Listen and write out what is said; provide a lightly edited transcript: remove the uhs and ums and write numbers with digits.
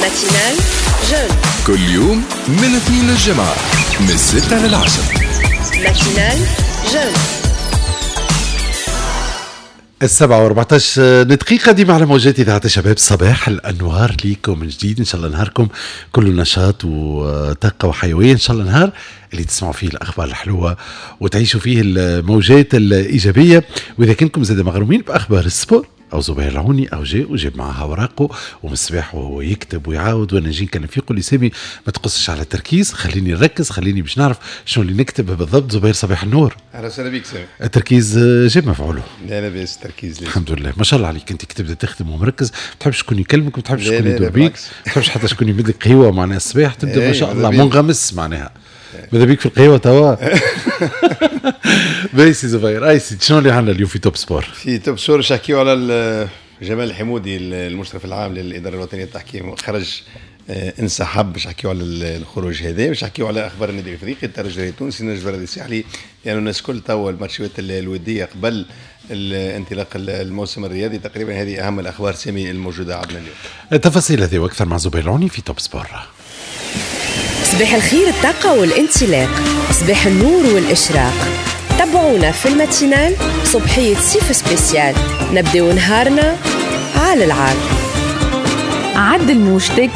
matinale jeune. كل يوم من الاثنين للجمعة من 6 لل10. matinale jeune. 7:14 دقيقة ديما على موجات إذاعة الشباب. صباح الأنوار ليكم من جديد، إن شاء الله نهاركم كله نشاط وطاقة وحيوية، إن شاء الله نهار اللي تسمعوا فيه الأخبار الحلوة وتعيشوا فيه الموجات الإيجابية. وإذا كنكم زاد مغرومين بأخبار ال sport او زبير العوني او جاء وجاب معها اوراقه ومن الصباح وهو يكتب ويعاود، وانا نجي كان فيقول لي سامي ما تقصش على التركيز، خليني نركز، خليني باش نعرف شنو اللي نكتب بالضبط. زبير صباح النور. اهلا وسهلا بك سامي. التركيز جاب مفعوله. لا لاباس التركيز. الحمد لله، ما شاء الله عليك، انت كتبدا تخدم ومركز، ما تحبش شكون يكلمك، ما تحبش شكون يدور بيك، ما تحبش حتى شكون يمد لك قهوة معناها الصباح تبدا ما شاء الله منغمس معناها. ماذا بيك في القهوة توا؟ باهي سي زبير، اي سي شنو اللي عندنا اليوم في Top Sport؟ في Top Sport باش نحكيو على جمال الحمودي المشرف العام للادارة الوطنية للتحكيم، خرج انسحب، باش نحكيو على الخروج هذا، باش نحكيو على اخبار النادي الافريقي، الترجي التونسي، النجم الرياضي الساحلي، لانه الناس الكل توا الماتشات الودية قبل انطلاق الموسم الرياضي تقريبا. هذه اهم الاخبار سامي الموجودة عندنا اليوم. التفاصيل هذه واكثر مع زبير العوني في Top Sport. صباح الخير، الطاقة والانطلاق، صباح النور والإشراق. تابعونا في ال matinale صبحية صيف spécial، نبداو نهارنا على العال. عدل موجتك